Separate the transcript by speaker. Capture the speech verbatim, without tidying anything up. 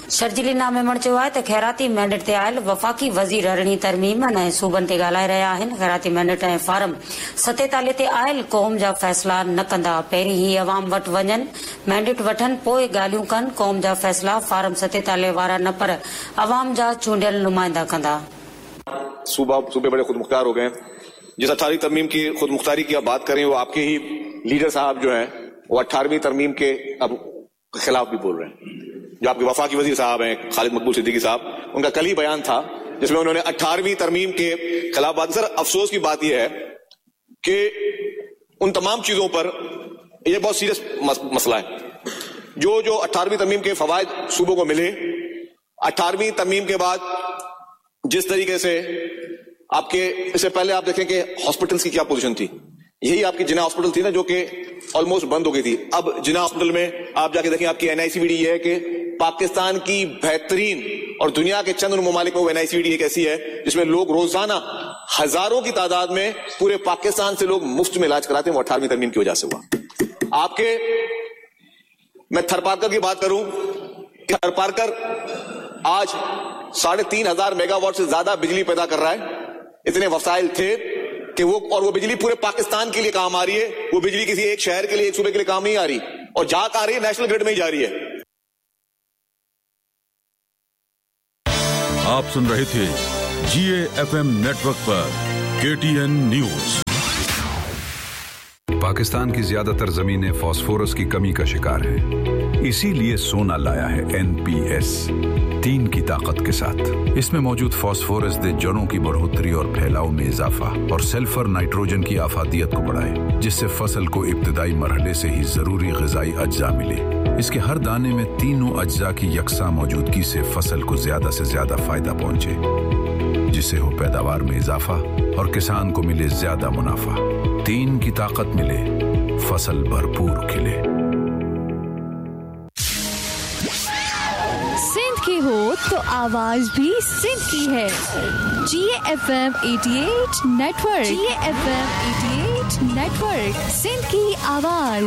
Speaker 1: शर्जील इनाम मेमण चयो आहे त ख़ैराती मैंडेट ते आयल वफ़ाक़ी वज़ीर अरिड़हीं तरमीम ऐं सूबनि ते ॻाल्हाए रहिया आहिनि। ख़ैराती मैंडेट ऐं फार्म सतेतालीह ते आयल क़ौम जा फ़ैसिला न कंदा, पहिरीं ही अवाम वटि वञनि, मैंडेट वठनि, पोइ ॻाल्हियूं कनि। क़ौम जा फ़ैसिला फार्म सतेतालीह वारा न पर अवाम जा चूंडियल नुमाइंदा कंदा।
Speaker 2: सूबा सूबे बड़े खुद मुख्तार हो गए। जिस अठारहवीं तरमीम की खुद मुख्तारी की आप बात करें, वो आपके ही लीडर साहब जो हैं वो अठारहवीं तरमीम के अब खिलाफ भी बोल रहे हैं। जो आपके वफाकी वजीर साहब हैं खालिद मकबूल सिद्दीकी साहब, उनका कल ही बयान था जिसमें उन्होंने अठारहवीं तरमीम के खिलाफ बात। सर अफसोस की बात यह है कि उन तमाम चीजों पर यह बहुत सीरियस मस, मसला है। जो जो अठारहवीं तरमीम के फवायद सूबों को मिले, अठारहवीं तरमीम के बाद जिस तरीके से आपके, इससे पहले आप देखें कि हॉस्पिटल्स की क्या पोजीशन थी। यही आपकी जिन्ना हॉस्पिटल थी ना जो कि ऑलमोस्ट बंद हो गई थी। अब जिन्ना हॉस्पिटल में आप जाके देखें, आपकी एनआईसीवीडी ये है कि पाकिस्तान की बेहतरीन और दुनिया के चंद ममालिक में वो एनआईसीवीडी एक ऐसी है जिसमें लोग रोजाना हजारों की तादाद में पूरे पाकिस्तान से लोग मुफ्त में इलाज कराते हैं। वो अठारहवीं तरमीम की वजह से हुआ। आपके मैं थरपारकर की बात करूं, थरपारकर आज साढ़े तीन हजार मेगावाट से ज्यादा बिजली पैदा कर रहा है। इतने वसाइल थे कि वो, और वो बिजली पूरे पाकिस्तान के लिए काम आ रही है। वो बिजली किसी एक शहर के लिए, एक सूबे के लिए काम नहीं आ रही, और जा आ रही है नेशनल ग्रिड में ही जा रही है।
Speaker 3: आप सुन रहे थे जी ए एफ एम नेटवर्क पर के टी एन न्यूज।
Speaker 4: पाकिस्तान की ज्यादातर जमीनें फास्फोरस की कमी का शिकार हैं, इसीलिए सोना लाया है एन पी एस तीन की ताकत के साथ। इसमें मौजूद फास्फोरस दे जड़ों की बढ़ोतरी और फैलाव में इजाफा और सल्फर नाइट्रोजन की आफादियत को बढ़ाए, जिससे फसल को इब्तदाई मरहले से ही जरूरी ग़िज़ाई अज्जा मिले। इसके हर दाने में तीनों अज्जा की यकसा मौजूदगी से फसल को ज्यादा से ज्यादा फायदा पहुंचे, जिससे हो पैदावार में इजाफा और किसान को मिले ज्यादा मुनाफा। तीन की ताकत मिले, फसल भरपूर खिले।
Speaker 5: सिंध की हो तो आवाज भी सिंध की है। जी एफ एम अठासी network, G F M अठासी नेटवर्क, सिंध की आवाज।